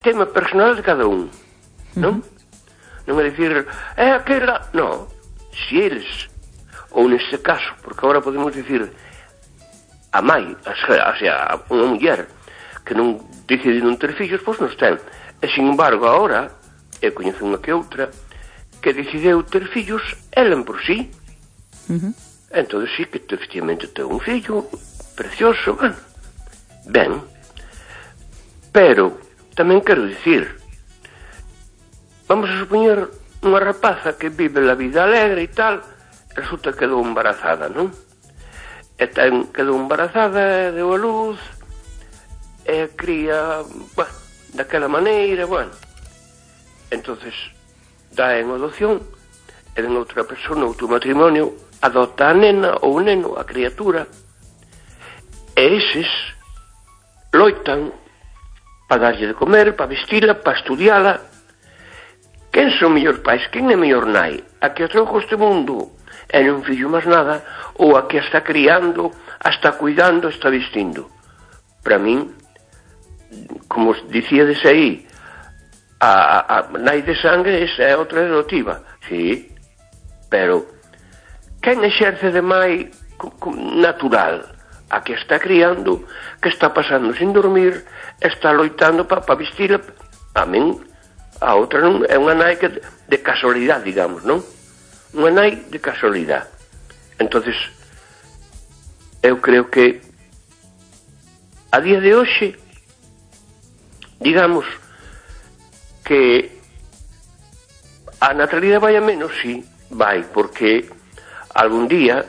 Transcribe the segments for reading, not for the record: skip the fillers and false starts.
tema personal de cada un, non? Non é dicir, aquela... Non, se eles, ou neste caso, porque agora podemos dicir a mãe, o sea, unha muller que non decide non ter fillos, pois non ten. E, sin embargo, agora, eu coñezo unha que outra, que decideu ter fillos ela por sí. Entón, sí, que efectivamente ten un fillo precioso, bueno, ben. Pero, tamén quero dicir, vamos a supoñer unha rapaza que vive a vida alegre e tal, resulta que quedou embarazada, non? E quedou embarazada, deu a luz, e cría, bueno, daquela maneira, bueno. Entonces, dá en adopción, e den outra persona, outro matrimonio, adopta a nena ou o neno, a criatura, e eses loitan para darlle de comer, para vestila, para estudiala. Quen son mellor pais? Quen é mellor nai? A que atrauco este mundo e non fillo máis nada, ou a que a está criando, a está cuidando, a está vestindo? Para min, como dicíades aí, a nai de sangue, esa é outra adotiva, sí, pero quen exerce de mai natural? A que está criando, que está pasando sin dormir, está loitando para vestila. A min, a outra non é unha nai que de casualidade, digamos, non? Unha nai de casualidade. Entonces, eu creo que a día de hoxe, digamos que a natalidade vai a menos, sí, vai, porque algún día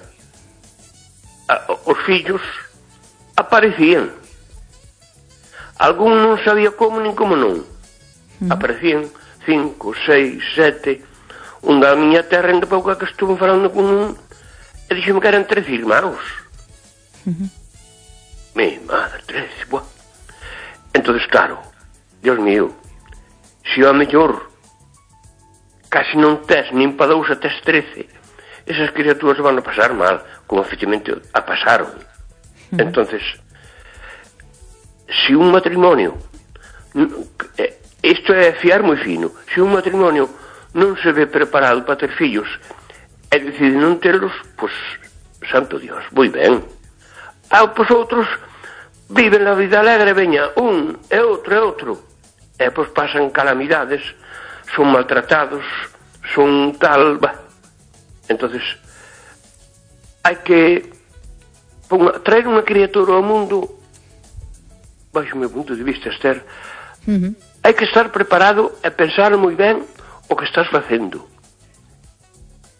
os fillos aparecían. Algún non sabía como nin como non. Aparecían 5, 6, 7. Un da miña terra en de pouca que estuve falando con un e dixeme que eran 13 irmãos. Mi madre, 13, buah. Entonces, claro, Dios mío, se a mellor casi non tes nin pa dous a tes 13, esas criaturas van a pasar mal, como efectivamente a pasaron. Entonces, se un matrimonio, isto é fiar moi fino, se un matrimonio non se ve preparado para ter fillos e decide non terlos, pois, santo Dios, moi ben. Pois outros viven a vida alegre, veña, un e outro, e pois pasan calamidades, son maltratados, son tal, entonces hai que traer unha criatura ao mundo, baixo o meu punto de vista, Esther, hai que estar preparado e pensar moi ben o que estás facendo,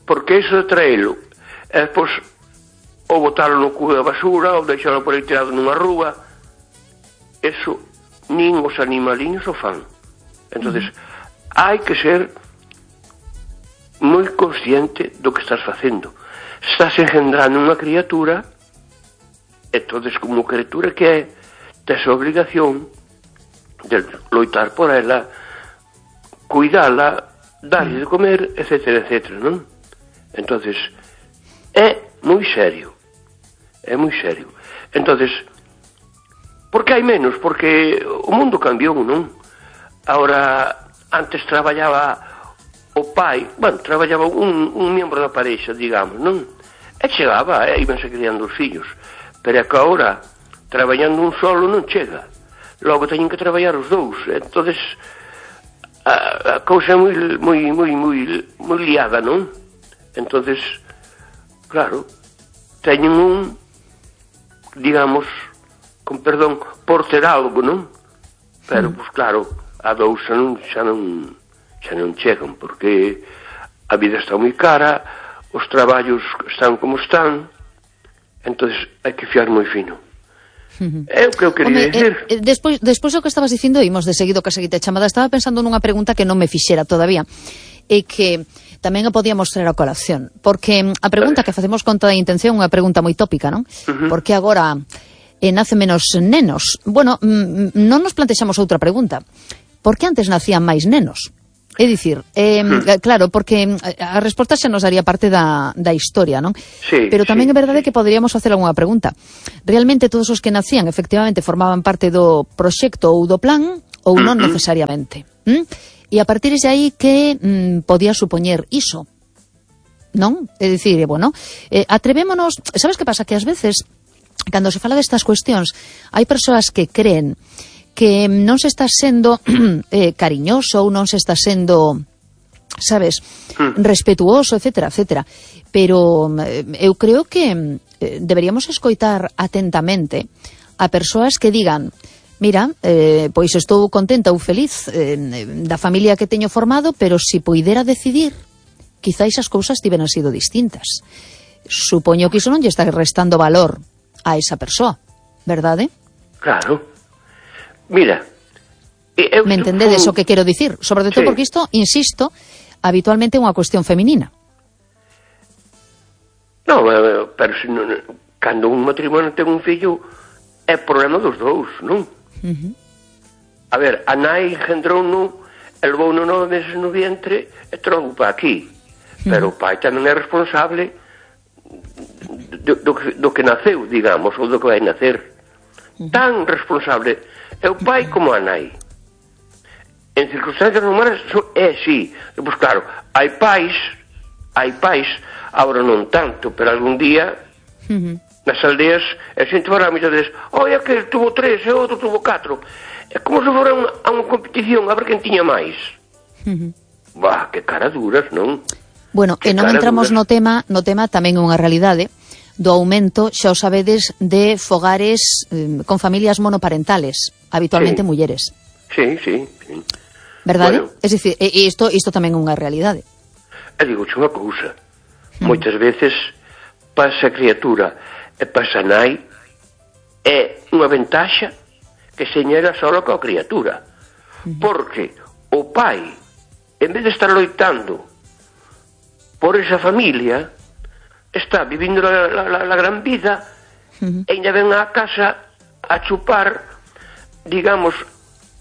porque iso de traelo e depois ou botalo no cubo da basura ou deixalo por aí tirado nunha rúa, eso nin os animaliños o fan. Entonces hai que ser moi consciente do que estás facendo. Estás engendrando unha criatura, entonces como criatura que é, tes a obligación de loitar por ela, cuidala, darlle de comer, etcétera, etcétera, non? Entonces é moi serio, é moi serio. Entonces, por que hai menos? Porque o mundo cambiou, non? Ahora, antes traballaba o pai, bueno, traballaba un membro da parexa, digamos, non? E chegaba, íbanse criando os fillos. Pero é que agora, traballando un solo non chega. Logo teñen que traballar os dous. Entonces, a cousa é moi liada, non? Entonces, claro, teñen un, digamos, con perdón, por ter algo, non? Pero, pois claro, a dous xa non chegan, porque a vida está moi cara, os traballos están como están, entonces hai que fiar moi fino. É o que eu quería dicir. Despois do que estabas dicindo, imos de seguido que a seguinte chamada, estaba pensando nunha pregunta que non me fixera todavía, e que tamén a podíamos traer a colación, porque a pregunta que facemos con toda a intención é unha pregunta moi tópica, non? Porque agora nace menos nenos. Bueno, non nos plantexamos outra pregunta. Por que antes nacían máis nenos? É dicir, claro, porque a resposta xa nos daría parte da historia, non? Sí, pero tamén é verdade que poderíamos facer algunha pregunta. Realmente todos os que nacían efectivamente formaban parte do proxecto ou do plan, ou non necesariamente. E a partir de aí que podía supoñer iso, non? É dicir, bueno, atrevémonos, sabes que pasa? Que ás veces, cando se fala destas cuestións, hai persoas que creen que non se está sendo cariñoso ou non se está sendo, sabes, respetuoso, etcétera, etcétera. Pero eu creo que deberíamos escoitar atentamente a persoas que digan: mira, pois estou contenta ou feliz da familia que teño formado, pero se poidera decidir, quizáis as cousas tiveran sido distintas. Supoño que iso non lle está restando valor a esa persoa, verdade? Claro. Mira, me entendedes o que quero dicir? Sobre todo porque isto, insisto, habitualmente é unha cuestión feminina. No, pero se non, cando un matrimonio ten un fillo, é problema dos dous, non? A ver, a nai engendrou-no, levou no 9 meses no vientre e trouxo para aquí. Pero o pai tamén é responsable do que naceu, digamos, ou do que vai nacer. Tan responsable é o pai como a nai. En circunstancias normais é así. Pois claro, hai pais, agora non tanto, pero algún día nas aldeas a xente fará moitas veces: oi, aquel tuvo 3 e outro tuvo 4. É como se fora a unha competición a ver quen tiña máis. Bah, que cara duras, non? Bueno, e non entramos no tema tamén é unha realidade do aumento, xa o sabedes, de fogares con familias monoparentales, habitualmente mulleres. Sí. Verdade? Bueno, é dicir, isto tamén é unha realidade. E digo-che unha cousa, moitas veces para esa criatura e para esa nai é unha ventaxa que señera só coa criatura, porque o pai, en vez de estar loitando por esa familia, está vivindo la gran vida e ainda ven á casa a chupar, digamos,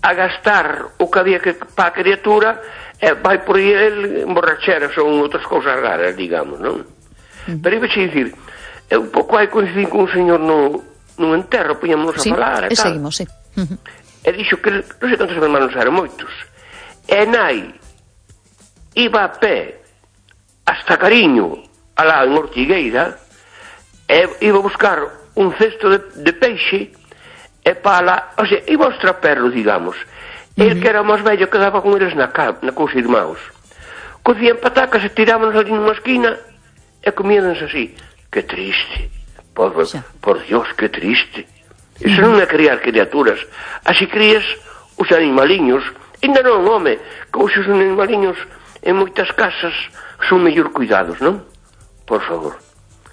a gastar o que había que para a criatura, e vai por aí el emborracheras ou outras cousas raras, digamos, non? Pero iba a dicir, un pouco hai coincidir con un señor nun enterro, poñámonos a falar e tal. Seguimos, sí. E dixo que non sei cantos hermanos eran, moitos, e nai iba a pé hasta Cariño, alá en Ortigueira, e iba a buscar un cesto de peixe e para, o sea, iba aos traperros, digamos. El que era máis vello quedaba con eles na cos irmãos. Cocían patacas e tirábanos ali nunha esquina e comíanos así. Que triste, por Dios, que triste. Iso non é criar criaturas. Así crías os animaliños. Ainda non, home, que os animaliños en moitas casas son mellor cuidados, non? Por favor.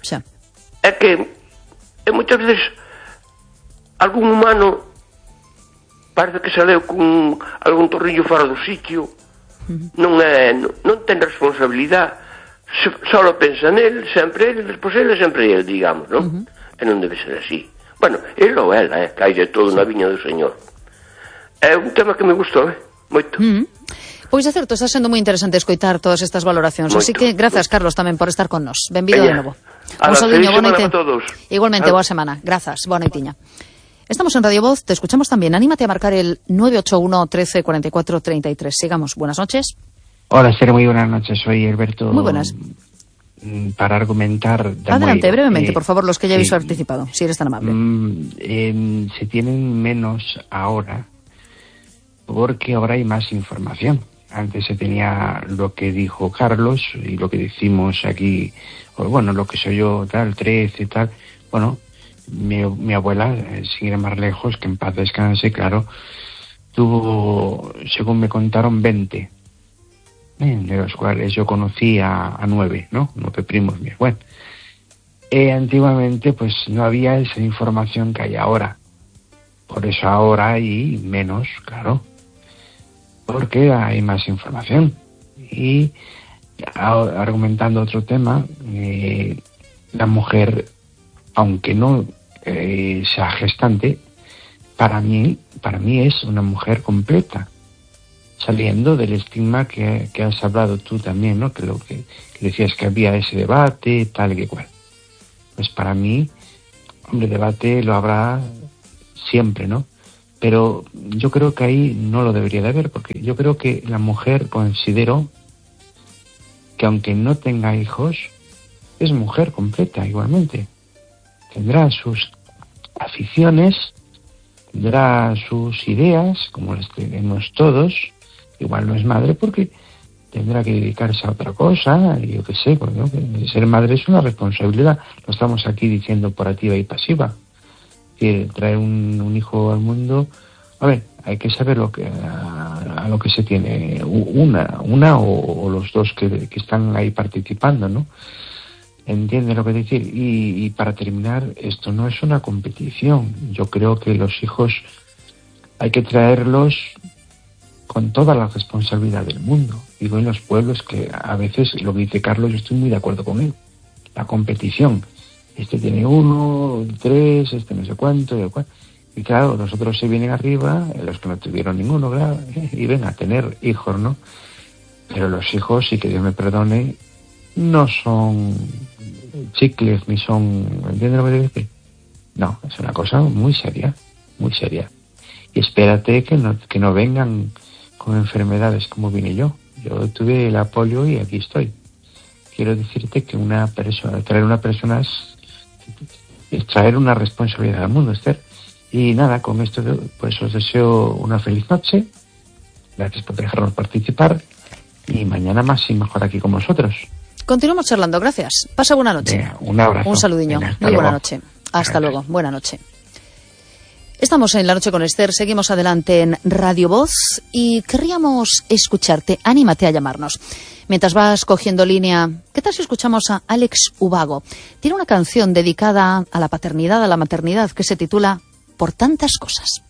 Xa. É que moitas veces algún humano parece que saleu con algún torrillo fora do sitio, non ten responsabilidade, só pensa nel, sempre ele, despois ele, sempre ele, digamos, non? E non debe ser así. Bueno, ele ou ela, que hai de todo na viña do Señor. É un tema que me gustou, moito. Pois é certo, está sendo moi interesante escoitar todas estas valoracións, así que grazas, Carlos, tamén por estar con nos. Benvido de novo. Un saludiño, boa noite. Igualmente, boa semana. Grazas, boa noitiña. Estamos en Radio Voz, te escuchamos también. Anímate a marcar el 981 13 44 33. Sigamos. Buenas noches. Hola, Sere, muy buenas noches. Soy Alberto. Muy buenas. Para argumentar... Adelante, brevemente, por favor, los que ya habéis participado, si eres tan amable. Se tienen menos ahora porque ahora hay más información. Antes se tenía lo que dijo Carlos y lo que decimos aquí, o bueno, lo que soy yo, tal, 13, tal. Bueno, mi abuela, sin ir más lejos, que en paz descanse, claro, tuvo, según me contaron, 20. De los cuales yo conocí a 9, ¿no? 9 primos míos. Bueno, antiguamente pues no había esa información que hay ahora. Por eso ahora hay menos, claro. Porque hay más información. Y argumentando otro tema, la mujer, aunque no sea gestante, para mí es una mujer completa, saliendo del estigma que has hablado tú también, ¿no? Que lo que decías que había ese debate, tal que cual. Pues para mí, hombre, debate lo habrá siempre, ¿no? Pero yo creo que ahí no lo debería de haber, porque yo creo que la mujer, considero que aunque no tenga hijos, es mujer completa igualmente. Tendrá sus aficiones, tendrá sus ideas, como las tenemos todos. Igual no es madre porque tendrá que dedicarse a otra cosa, y yo qué sé, porque ser madre es una responsabilidad. Lo estamos aquí diciendo por activa y pasiva. Que traer un hijo al mundo, a ver, hay que saber a lo que se tiene una o los dos que están ahí participando, ¿no? ¿Entiende lo que decir? Y para terminar, esto no es una competición. Yo creo que los hijos hay que traerlos con toda la responsabilidad del mundo. Digo, en los pueblos, que a veces, lo que dice Carlos, yo estoy muy de acuerdo con él. La competición. Este tiene 1, 3, este no sé cuánto, y claro, los otros se vienen arriba, los que no tuvieron ninguno, claro, y ven a tener hijos, ¿no? Pero los hijos, y que Dios me perdone, no son chicles, ni son, ¿entiendes lo que te digo? No, es una cosa muy seria, muy seria. Y espérate que no vengan con enfermedades como vine yo. Yo tuve la polio y aquí estoy. Quiero decirte que traer una persona es traer una responsabilidad al mundo, Esther. Y nada, con esto pues os deseo una feliz noche. Gracias por dejarnos participar. Y mañana más y mejor aquí con vosotros. Continuamos charlando, gracias. Pasa buena noche. Venga, un abrazo. Un saludiño. Muy buena noche. Hasta luego. Buena noche. Estamos en La Noche con Esther, seguimos adelante en Radio Voz y querríamos escucharte. Anímate a llamarnos. Mientras vas cogiendo línea, ¿qué tal si escuchamos a Alex Ubago? Tiene una canción dedicada a la paternidad, a la maternidad, que se titula Por tantas cosas.